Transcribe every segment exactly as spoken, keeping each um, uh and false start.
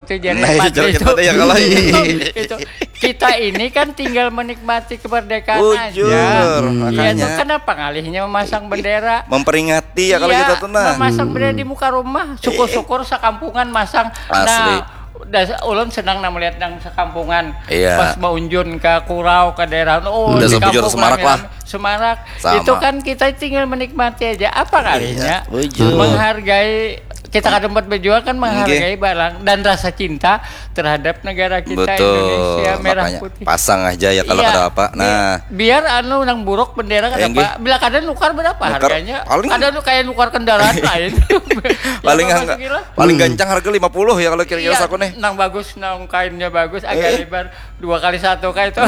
Itu jadi nah, itu, itu, ya kalau itu, kita ini kan tinggal menikmati kemerdekaan aja. Bujur, hmm. Makanya itu kenapa ngalihnya memasang bendera? Memperingati ya kalau iya, kita tuh nah. Memasang hmm. Bendera di muka rumah, syukur-syukur sekampungan masang. Asli. Nah, das, ulun senang nah melihat yang sekampungan. Iya. Pas maunjun ke Kurau, ke daerah, oh, udah di kampung semarak lah. Semarak. Sama. Itu kan kita tinggal menikmati aja. Apa kalinya? Iya, menghargai kita kada buat berjuang kan menghargai barang dan rasa cinta terhadap negara kita betul. Indonesia merah makanya, putih. Pasang aja ya kalau iya, ada apa. Nah, biar anu nang buruk bendera kada apa. Bila kada nukar berapa nukar, harganya? Paling ada nu kayak nukar kendaraan lain. Paling ya, enggak, paling hmm. Gancang harga lima puluh ya kalau kira-kira iya, saku nih. Nang bagus, nang kainnya bagus, agak eh. Lebar. Dua kali satu kayak itu.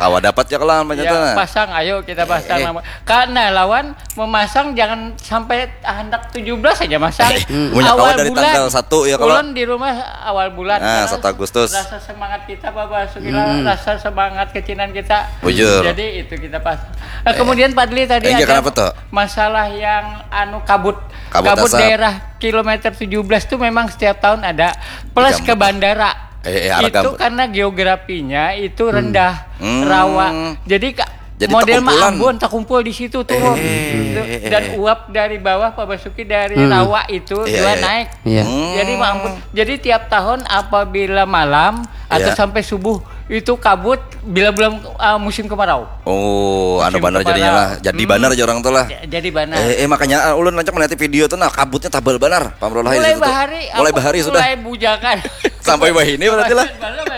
Kawa dapat ya kalau namanya ya, tuh. Pasang, ayo kita pasang eh. Nama. Karena lawan memasang jangan sampai hendak tujuh belas aja masang. Eh, hmm. Awal bulan. Tanggal satu ya kalau. Ulun di rumah awal bulan. Nah, satu Agustus. Rasa semangat kita Bapak Sugila, hmm. Rasa semangat kecinan kita. Bujur. Jadi itu kita pas. Nah, eh. Kemudian Padli tadi eh, ada tuh? Masalah yang anu kabut. Kabut, kabut daerah kilometer tujuh belas tuh memang setiap tahun ada plus ke bandara. Eh, eh, itu karena geografinya itu rendah hmm. Rawa. Jadi, jadi model Mambun terkumpul di situ turun eh, gitu. Dan eh, uap dari bawah Pak Basuki dari hmm. Rawa itu iya, juga iya. Naik. Iya. Hmm. Jadi Mambun. Jadi tiap tahun apabila malam atau iya. Sampai subuh itu kabut bila belum uh, musim kemarau. Oh, musim anu benar jadinya lah. Jadi hmm. Benar aja orang tuh lah. Jadi benar. Eh, eh makanya uh, ulun lancar melihat video tuh nah kabutnya tabal benar. Pamrullah mulai bahari mulai bahari sudah. Mulai bujangan. Sampai bahini berarti lah.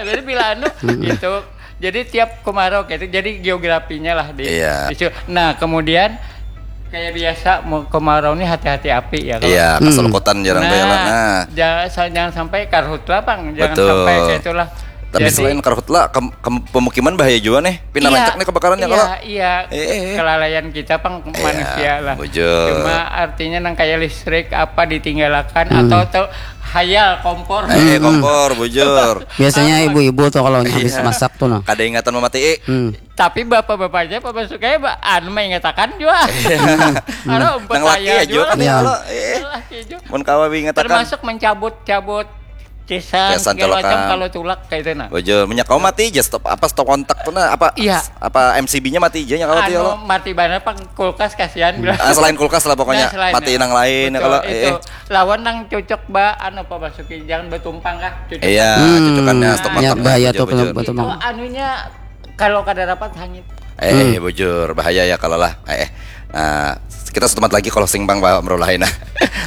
Jadi bila anu gitu. Jadi tiap kemarau kayak itu jadi geografinya lah di iya. Nah, kemudian kayak biasa mau kemarau nih hati-hati api ya kalau iya hmm. Keselukutan jarang nah, nah. Jangan, jangan sampai karhutlah pang jangan betul. Sampai kayak itulah tapi jadi, selain karhutlah ke, ke, pemukiman bahaya juga nih pindah iya, rancak nih kebakaran iya, ya kalau iya eh, eh. Kelalaian kita pang iya, manusia lah bujur. Cuma artinya nang kayak listrik apa ditinggalkan hmm. Atau tuh hayal kompor eh, eh kompor bujur biasanya ibu-ibu tuh kalau habis iya. Masak tuh nah kada ingatan mematii hmm. Tapi bapak-bapaknya Pak Basuki ba, anu mengatakan juga. Anu empat nang laki aja kan ya. Iya. Mun kawa mengatakan termasuk mencabut-cabut cesan, cesan segala macam kalau tulak kayak itu nah. Bujur, minyak kau mati aja stop apa stop kontak tuh nah apa iya. Apa M C B-nya mati aja nyawa anu, mati banget pang kulkas kasihan hmm. Ah, selain kulkas lah pokoknya nah, mati ya. Nang lain betul, kalau itu. Eh. Lawan nang cocok ba anu Pak Basuki jangan bertumpang kah cocok. Iya, hmm. Cocokannya stop kontak. Ya, bahaya tuh kalau bertumpang. Anunya kalau kada rapat hangit. Eh, hmm. Bujur bahaya ya kalau lah. Eh, eh. Nah, kita setempat lagi kalau sing bang Pak Amrullah nah.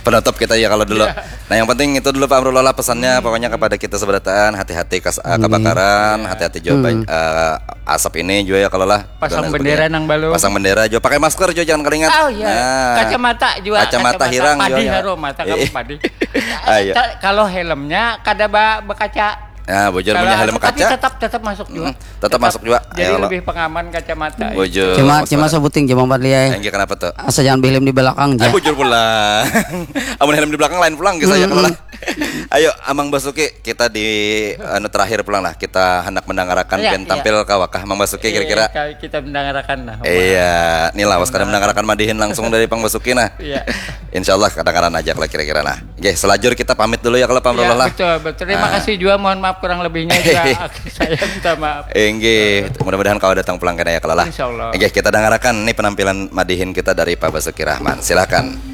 Penutup kita ya kalau dulu. Ya. Nah, yang penting itu dulu Pak Amrullah lah pesannya hmm. Pokoknya kepada kita seberataan hati-hati kas, uh, kebakaran, hati-hati juga hmm. Uh, asap ini juga ya kalau lah. Pasang bendera nang balu. Pasang bendera juga pakai masker juga jangan keringat. Oh iya. Nah. Kacamata juga. Kacamata, kacamata hirang padi juga. Haru mata kamu padi. Ayo. Kalau helmnya kada ba, bekaca. Nah, bujur punya helm kaca. Tapi tetap tetap masuk juga. Hmm, tetap, tetap masuk juga. Jadi ayo, lebih pengaman kacamata. Bujur. Cuma cuma sebuting cuma empat liai. Enggak kenapa tuh? Asa jangan helm di belakang aja. Bujur pulang. Amun helm di belakang lain pulang gitu ya kalau. Ayo Amang Basuki kita di anu terakhir pulang lah kita hendak mendangarakan ya, pian ya. Tampil kawakah Amang Basuki kira-kira. Iya, kita mendangarakan nah. Iya, nih lawas kada mendangarakan madihin langsung dari Pang Basuki nah. Iya. Insya Allah kedengaran aja kalau kira-kira nah. Oke, selajur kita pamit dulu ya kalau Pak Amrullah. Ya, betul, betul. Terima nah. Kasih juga, mohon maaf kurang lebihnya juga. Saya minta maaf. Enggih, mudah-mudahan kau datang pulang kena ya kalau lah. Insya Allah. Enggih, kita dengarkan nih penampilan madihin kita dari Pak Basuki Rahman. Silakan.